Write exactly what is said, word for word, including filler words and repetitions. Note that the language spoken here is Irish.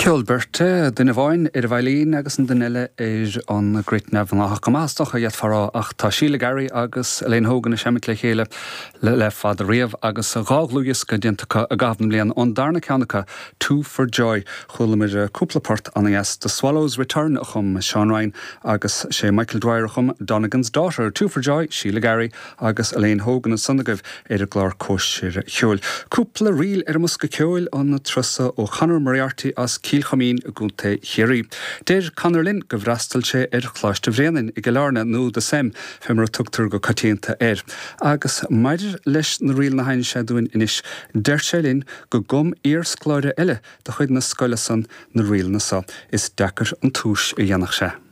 Ceol beirte, duine amháin ar an veidhlín agus an duine eile ar an gcruit neamhghnáthach go maith is dócha d'fhéadfá a rá ach tá Síle Garry agus Elaine Hogan ag seimint le chéile le, le fada riamh agus dhá dhlúthdhiosca déanta acu i gcaitheamh na mblian ón darna ceann acu Two for Joy chualamar cúpla port an-deas The Swallows Return a chum Seán Ryan agus sé Michael Dwyer a chum Donegan's Daughter Two for Joy Síle Garry agus Elaine Hogan ansan agaibh ar an gclár Cóisir Cheoil. Cúpla ríl ar an mbosca ceoil an turas seo ó Conor Moriarty as Cill Choimín i gContae Chiarraí. Deir Conor linn gur fhreastail sé ar Choláiste Bhréanainn i gCill Airne nó The Sem fé mar a tugtar go coitianta air. Agus maidir leis na ríleanna a sheinn sé dúinn anois, deir sé linn go gcum iarscoláire eile de chuid na scoile san na ríleanna seo is deacair an túis a dhéanfadh sé.